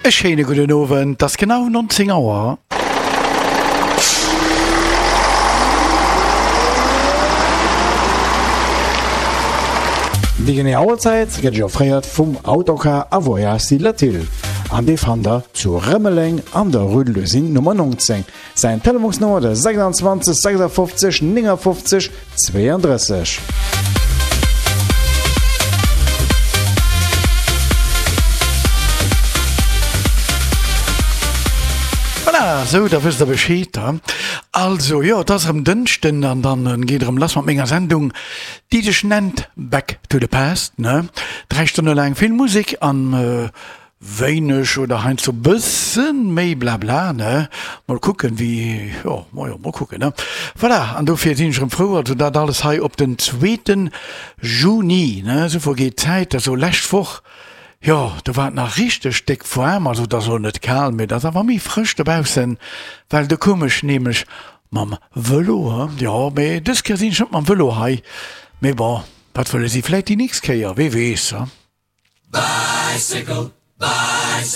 E schéine gudden Owend, 't ass genau 19 Auer. Déi genee Auerzäit gëtt Iech offréiert vum Autocar a Voyages Latil an dee fannt der zu Rëmeleng an der Rue de l'Usine Nummer 19. Säin Telefonsnummer de 26 56 59 32. Voilà, sou da wësst der Bescheed da. Also jo, et ass erëm Dënschden an dann geet erëm lass mat menger Sendung, déi sech nennt Back to the Past, ne? 3 Stonne laang vill Musek an Wéineg oder heiansdo bëssen méi Blabla, ne? Mol kucken wéi, jo, majo, mol kucken, ne? Voilà, an dofir sinn ech erëm frou, also dat alles hei op den zweeten Juni, ne? Esou vergeet d'Zäit, also lescht Woch, jo, do war et nach richteg déck waarm, also et ass elo net kal, mee et ass awer méi frësch dobaussen, well do koum ech nämlech mam Vëlo, he, jo, mee dës Kéier sinn ech net mam Vëlo hei, mee bon, wat wëlle si, vläit déi nächst Kéier, wee weess, he? Bicycle, bicycle.